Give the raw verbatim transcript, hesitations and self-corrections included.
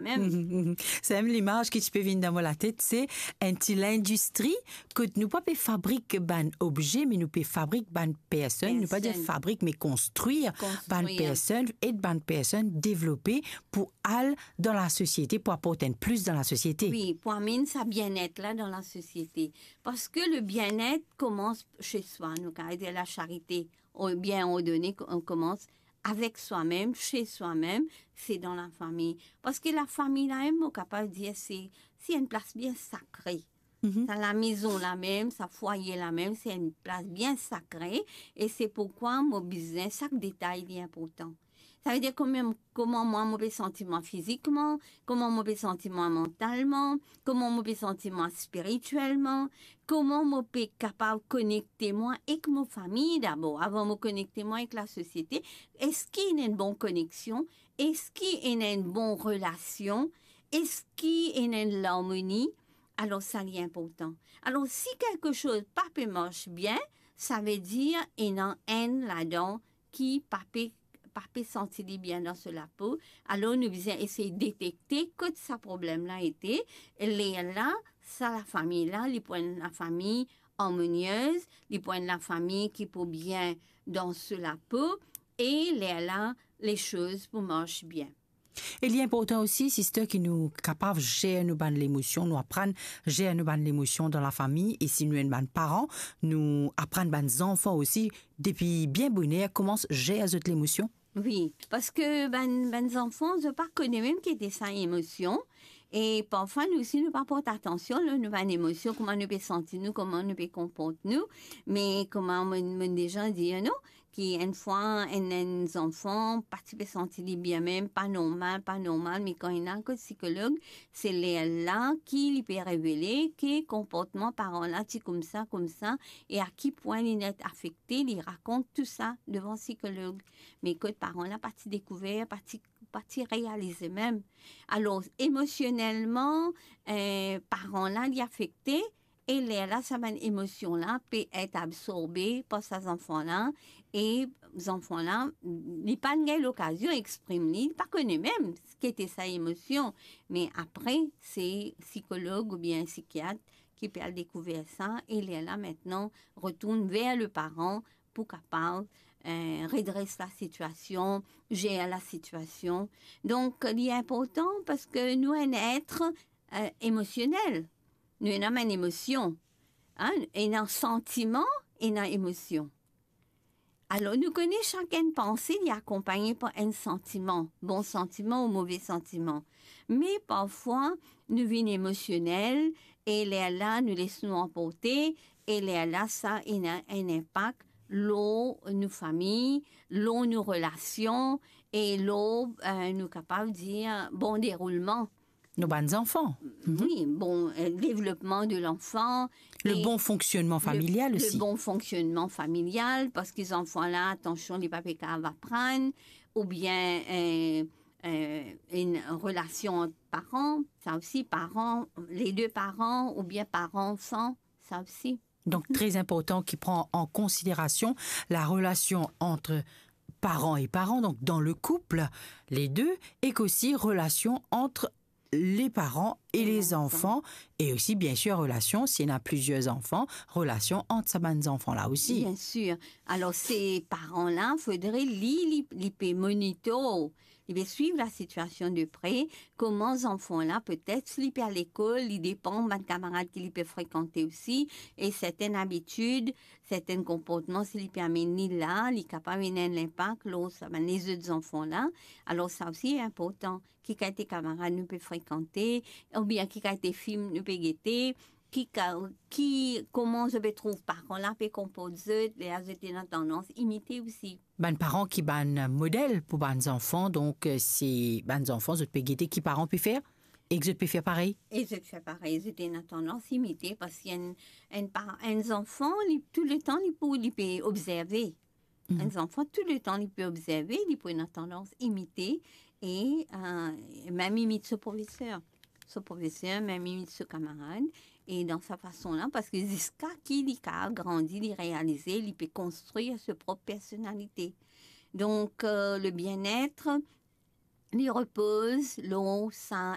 Mem. Mhm, mhm. Sa mem limaz ki ti pe vinn dan mo latet, se enn ti lindistri kot nou pa pe fabrik bann obze, me nou pe fabrik bann personn. Nou pa dir personn, fabrik, me konstrir bann, konstrir, personn, ed bann personn devlope pou al dan lasosiete, pou aport enn plis dan lasosiete. Wi, pou amenn sa bienet la dan lasosiete. Parski le bienet koumans se swa, nou kapav dir lasarite, oubien on done, on koumans avek swa mem, se swa mem, se dan lafami. Parski lafami la mem, mo kapav dir, se, se enn plas bien sakre. Mhm. Sa lamezon la mem, sa fwaye la mem, se enn plas bien sakre, e se poukwa mo bizin, sak detay li inportan. Savedir kouma, kouma mwa mo pe santi mwa fizikman, kouma mo pe santi mwa mantalman, kouma mo pe santi mwa spiritielman, kouma mo pe kapav konekte mwa ek mo fami dabor, avan mo konekte mwa ek lasosiete. Eski ena enn bon koneksion? Eski ena enn bon relasion? Eski ena enn larmoni? Alor, sa li inportan. Alor, si kelke soz pa pe mars bien, savedir ena enn ladan ki pa pe, pa pe santi li bien dan so lapo. Alor, nou bizin esey detekte kot sa problem la ete. Lerla, sa lafami la, li pou enn lafami armoniez, li pou enn lafami ki pou bien dan so lapo, e lerla, lesoz pou mars bien. E li inportan osi, sister, ki nou kapav zer nou bann lemosion, nou aprann zer nou bann lemosion dan lafami, e si nou enn bann paran, nou aprann bann zanfan osi, depi bien boner, kouma zer zot lemosion. Wi, parski bann, bann zanfan, zot pa kone mem ki ete sa emosion, e parfwa nou osi, nou pa port atansion lor nou bann emosion, kouma nou pe santi nou, kouma nou pe konport nou, me kouma mo, mo deza dir nou, ki enn fwa enn, enn zanfan pa ti pe santi li bien mem, pa normal, pa normal, me kan li al kot sikolog, se lerla ki li pe revele ki konportman paran la ti koumsa, koumsa, e a ki pwin li net afekte, li rakont tou sa devan sikolog. Me kot paran la pa ti dekouver, pa ti, pa ti realize mem. Alor, emosionelman, eh, paran la, li afekte, e lerla, sa bann emosion la pe et absorbe par sa zanfan la, e zanfan la, li pa gagn lokazion exprim li, li pa kone mem ki ete sa emosion. Me apre, se sikolog oubien sikiat ki pe al dekouver sa, e lerla, aster, retourn ver le paran pou kapav, eh, redres lasitiasion, zer lasitiasion. Donk, li inportan parski nou enn et, eh, emosionel. Nou ena bann emosion. Hein? Ena santiman, ena emosion. Alor, nou kone sak enn panse, li akonpagne par enn santiman, bon santiman ou move santiman. Me parfwa, nou vinn emosionel, e lerla, nou les nou anporte, e lerla, sa ena enn inpak lor nou fami, lor nou relasion, e lor, eh, nou kapav dir, bon deroulman. Nou bann zanfan. Mhm. Wi, bon, eh, devlopman de lanfan. Le bon fonksionnman familial osi. Le bon fonksionnman familial, parski zanfan la, atansion, li pa pe kapav aprann, oubien, eh, eh, enn relasion ant paran, sa osi, paran, le de paran, oubien paran-anfan, sa osi. Donk, tre inportan ki pran an konsiderasion larelasion ant paran e paran, donk dan le koup, le de, ek osi relasion ant le paran e le zanfan, e osi, biensir, relasion, si ena plizier zanfan, relasion ant sa bann zanfan la osi. Biensir. Alor, se paran la, fodre li, li, li pe monitor, li pe swiv lasitiasion de pre, kouma zanfan la, petet, si li pe al lekol, li depan bann kamarad ki li pe frekante osi, e sertenn abitid, sertenn konportman, si li pe amenn li la, li kapav ena enn inpak lor sa bann lezot zanfan la. Alor, sa osi inportan. Ki kalite kamarad nou pe frekante, oubien ki kalite fim nou pe gete, ki ka-, ki, kouma zot pe trouv paran la pe konport zot, lerla zot ena tandans imite osi. Bann paran ki bann model pou bann zanfan, donk, eh, se bann zanfan, zot pe gete ki paran pe fer, ek zot pe fer parey. E zot fer parey, zot ena tandans imite, parski enn, enn pa-, enn zanfan, li, touletan, li pou, li pe obzerve. Mhm. Enn zanfan, touletan, li pe obzerve, li pou ena tandans imite, e, eh, mem imit so profeser. So profeser, mem imit so kamarad. E dan sa fason la, parski ziska ki li kapav grandi, li realize, li pe konstrir so prop personalite. Donk, eh, le bienet, li repoz lor sa